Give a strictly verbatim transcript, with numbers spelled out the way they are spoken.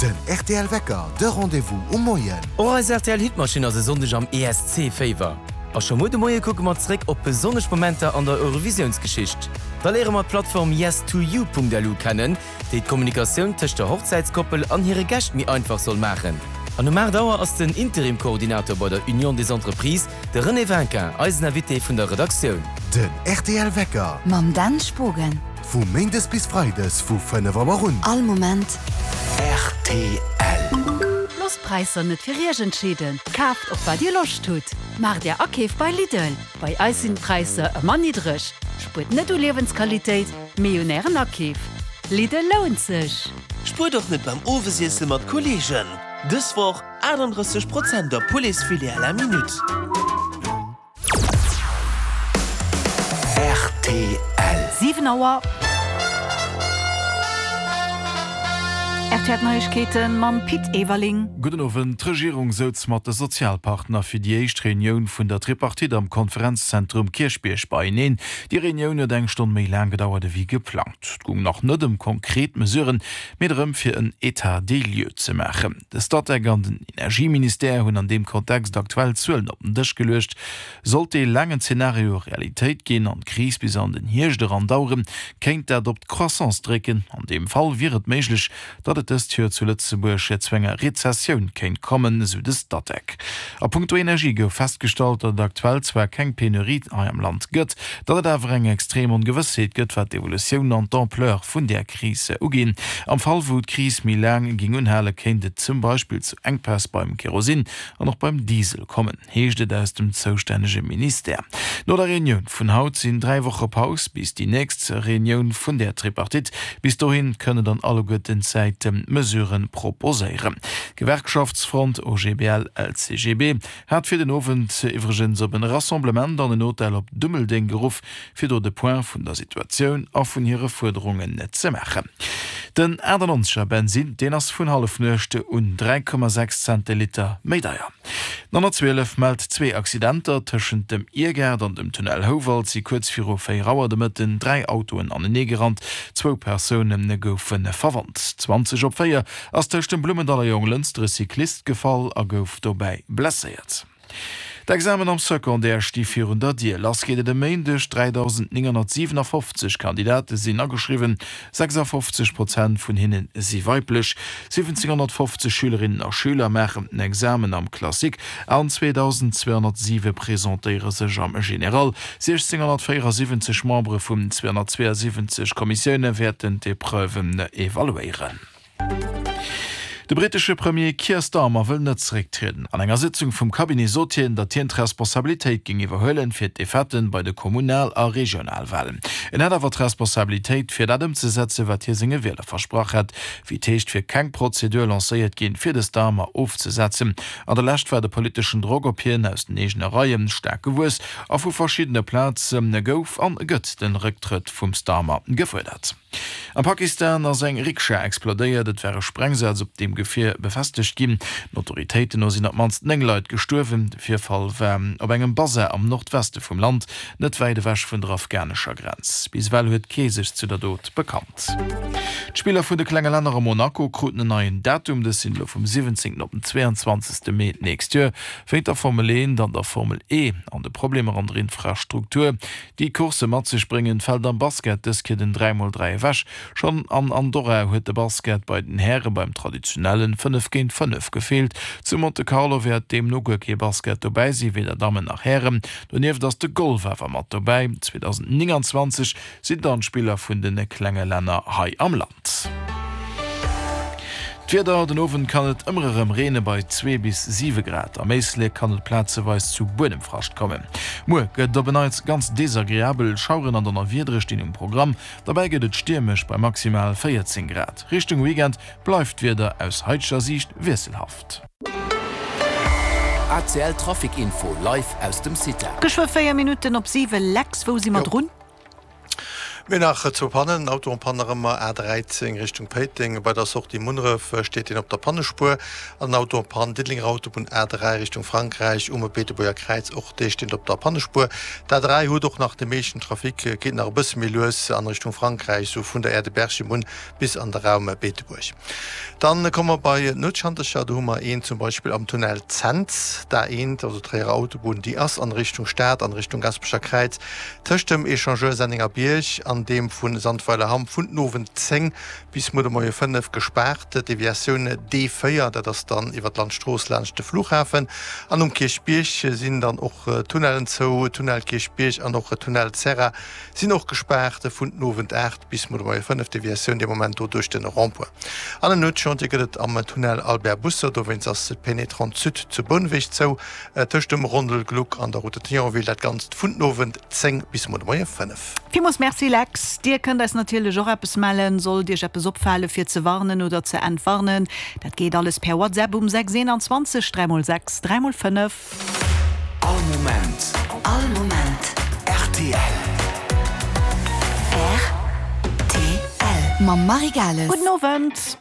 Den rtl Wecker, de Rendez-vous um Moien. Och eis rtl Hitmaschinn ass e Sonndeg am E S C-Féiwer. A scho muer de Moie kucke mer zréck op besonnesch Momenter an der Eurovisiounsgeschicht. Da léiere mer d'Plattform yes two you Punkt L U kennen, déi d'Kommunikatioun tëscht der Hochzäitskoppel an hire Gäscht méi einfach soll maachen. An um aacht Auer ass den Interim-Koordinator bei der Union des Entreprises, de René Vinquin, eisen Invité vun der Redaktioun. Den rtl Wecker. Mam Dan Spogen. Vu méindes bis freides vu fënnef Auer un. All Moment. R T L. Loosst d'Präisser net fir iech entscheeden. Kaaft op wat dir Loscht hutt. Maacht är Akeef bei Lidl. Bei eis sinn d'Präisser ëmmer niddreg. Spuert net u Liewensqualitéit, mee un ären Akeef. Lidl lount sech. Spuert och net beim Owesiesse mat Kolleegen. Dës Woch achtundrësseg Prozent op Pouletsfilet à la minute. R T L. Siwen Auer. R T L Neiegkeete mam Pit Everling. Gudden Owend. D'Regierung souz mat de Sozialpartner fir déi éischt Reunioun vun der Tripartite am Konferenzzentrum Kierchbierg beieneen. Déi Reunioun huet eng Stonn méi laang gedauert ewéi geplangt. Et goung nach net ëm konkret Mesuren, mee drëm fir en État des lieux ze maachen. De Statec an den Energieministère hunn an deem Kontext aktuell Zuelen op den Dësch geluecht. Sollt dee laangen Zenario Realitéit ginn an d'Kris bis an den Hierscht eran daueren, kéint dat op d'Croissance drécken. An deem Fall wier et méiglech, datt et dëst Joer zu Lëtzebuerg zu enger Rezessioun kéint kommen, esou de Statec. A punkto Energie gouf festgestallt, datt et aktuell zwar keng Penurie hei am Land gëtt, datt et awer eng extrem Ongewëssheet gëtt, wat d'Evolutioun an d'Ampleur vun där Kris uginn. Am Fall wou d'Kris méi laang géing unhalen, kéint et zum Beispill zu Enkpäss beim Kerosin an och beim Diesel kommen, heescht et aus dem zoustännege Ministère. No der Reunioun vun haut sinn dräi Woche Paus bis déi nächst Reunioun vun der Tripartite. Bis dohin kënnen dann alleguerten d'Säite Mesurë proposéieren. D'Gewerkschaftsfront O G B L L C G B hat fir den Owend iwwregens op en Rassemblement an en Hotel op Dummeldeng geruff, fir do de Point vun der Situatioun a vun hire Fuerderungen ze maachen. Den achtannonzeger Bensin, deen ass vun Hallefnuecht un dräi Komma sechs Cent de Liter méi deier. D'honnertzwielef mellt zwee Accidenter. Tëschent dem Iergaart an dem Tunnel Houwald si kuerz viru véier Auer de Mëtten dräi Autoen aneneegerannt. Zwou Persoune goufe verwonnt. Zwanzeg op véier ass tëscht dem Blummendaller Jonglënster e Cyclist gefall a gouf dobäi blesséiert. D'Examen am Secondaire sti virun der Dier. Lass geet et e Méindeg. dräidausendnénghonnertsiwenafoffzeg Kandidate sinn ageschriwwen, sechsafofzeg Prozent vun hinne si weiblech. Siwwenzénghonnertfofzeg Schülerinnen a Schüler maachen den Examen am Classique an zweedausendzweehonnertsiwe presentéiere sech am General. Siechzénghonnertvéierasiwwenzeg Membere vun zweehonnertzweeasiwwenzeg Kommissioune wäerten d'Epreuven evaluéieren. De brittesche Premier Keir Starmer wëll net zerécktrieden. An enger Sitzung vum Cabinet sot hien, datt hien d'Responsabilitéit géing iwwerhuelen fir d'Defaite bei de Kommunal a Regionalwalen. En hätt awer d'Responsabilitéit fir dat ëmzesetzen, wat hie senge Wieler versprach hätt. Wéi et heescht, wier keng Prozedur lancéiert ginn, fir de Starmer ofzesetzen. An der Lescht war de politeschen Drock op hien aus den eegene Reie staark gewuess a vu verschiddene Plaze gouf an gëtt de Récktrëtt vum Starmer gefuerdert. Am Pakistan ass eng Rikscha explodéiert, et war e Sprengsaz op deem Gefier befestegt ginn. Den Autoritéiten no sinn op d'mannst néng Leit gestuerwen. De Virfall war op engem Basar am Nordweste vum Land, net wäit ewech vun der afghanescher Grenz. Bis ewell huet kee sech zu der Dot bekannt. D'Spiller vun de klenge Länner a Monaco kruten en neien Datum, dës sinn elo vum siwwenzéngten op den zweeanzwanzegste Mee d'nächst Joer. Wéint der Formel eent an der Formel E an de Problemer an der Infrastruktur, déi d'Coursse mat sech bréngen, fält am Basket dës Kéier den dräi mol dräi ewech. Schonn an Andorra huet de Basket bei den Häre beim traditionellen fënnef géint fënnef gefeelt. Zu Monte Carlo wäert deemno guer kee Basket dobäi sinn, weder Dammen nach Hären. Donieft ass de Golf awer mat dobäi. zweedausendnénganzwanzeg sinn dann d'Spiller vun de klenge Länner hei am Land. D'Wieder, Den Owend kann et ëmmer erëm reene bei zwee bis siwe Grad. Am Éislek kann et plazeweis zu Buedemfrascht kommen. Muer gëtt et op en Neits ganz desagreabel, Schaueren an Donnerwiedere stinn um Programm. Dobäi gëtt et stiermesch bei maximal véierzéng Grad. Richtung Weekend bleift d'Wieder aus haiteger Siicht wiesselhaft. A C L Trafic Info live aus dem CITA. Geschwë véier Minutten op siwe. Lex, wou si mer drun? Mir nach zwou Pannen, Auto en panne nach ëmmer A dräizéng Richtung Péiteng, bei der Sortie Munneref steet een op der Pannespuer an en Auto en panne Diddelenger Autobunn A dräi Richtung Frankräich um Beetebuerger Kräiz, och dee steet op der Pannespuer. D'A dräi huet och nach de meeschten Trafic, geet nach e bësse méi lues an Richtung Frankräich, sou vun der Aire de Berchem un bis an de Raum Beetebuerg. Dann komme mer bei d'Nuetschantercher, do hu mer een zum Beispill am Tunnel Cents, d'A eent, also d'Tréierer Autobunn, déi ass an Richtung Stad, an Richtung Gasperecher Kräiz, tëscht dem Echangeur Sennengerbierg an deem vu Sandweiler-Hamm vun den Owend zéng bis muer de Moie fënnef gespaart. D'Deviatioun D véier, dat ass dann iwwer d'Landstrooss laanscht de Flughafen. An um Kierchbierg sinn dann och d'Tunnellen zou, Tunnel Kierchbierg an och Tunnel Serra sinn och gespaart vun den Owend aacht bis muer de Moie fënnef. Deviatioun dee Moment do duerch de Rond-point. An en Nuetschantier gëtt et am Tunnel Albert Busser, dowéinst ass d'Pénétrante Sud zu Bouneweg zou, tëscht dem Rondel Gluck an der Route de Thionville, dat Ganzt vun den Owend zéng bis muer de Moie fënnef. Villmools Merci Lex. Dir kënnt eis natierlech och eppes mellen, sollt Iech eppes opfale fir ze warnen oder ze entwarnen. Dat geet alles per WhatsApp um sechs eenanzwanzeg dräi mol sechs dräi mol fënnef. All Moment. All Moment. Rtl. Rtl. Mam Marie Gales. Gudden Owend.